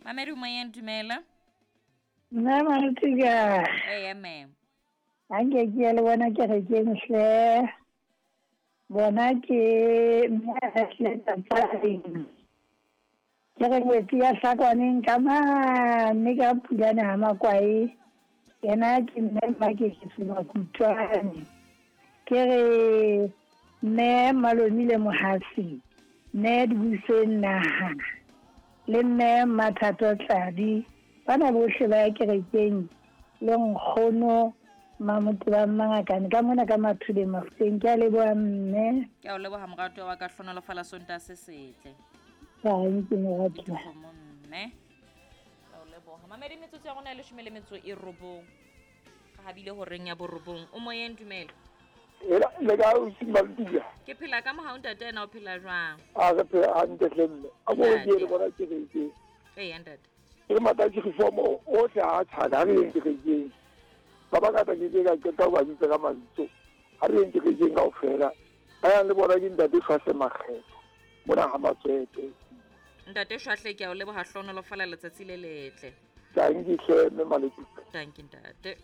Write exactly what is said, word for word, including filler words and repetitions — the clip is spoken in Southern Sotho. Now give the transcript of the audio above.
Mamedi o moyeng, dumela. Nna Malutika. Eya ma'am. Anke ke ya le bona kerekeng hle. Bona ke mme hle tsatsing. Ke re ngwetsi ya hlakwaneng ka mane ka Pulane ha Makwae. Yena ke mme Mmakeketso Makutwane. Ke re mme Malomile Mohasi, mme Dibuseng Naha le mme Mathato Tladi. Bana bohle ba ya kerekeng le nkgono Mamotebang Mangakane ka mona ka Mathuleng Mafuteng. Ke a leboha mme. Ke a o leboha moratuwa wa ka, hlohonolofala Sontaha se setle. Thank you moratuwa. Dikgomo mme. Ke a o leboha. Mamedi, metsotso ya rona e leshome le metso e robong. Re habile horeng ya borobong. O moyeng, dumela. Ela le ka o Malutika. Ke phela ka mohau ntate, ena o phela jwang? A re phela hantle hle mme. A mo re ke le bona kerekeng. Eya ntate. Ke re matsatsi reform ohle ha tshwana, ha re yeng kerekeng. Ba bangata ke ke ka qeta ho ba bitsa ka mabitso. Ha re yeng kerekeng kaofela. Ba yang le bona ke ntate Shwahle Makgetho. Mona ha Matswete. Ntate Shwahle, ke a o leboha, hlohonolofala letsatsi le letle. Tanki hle mme Malutika. Tanki ntate.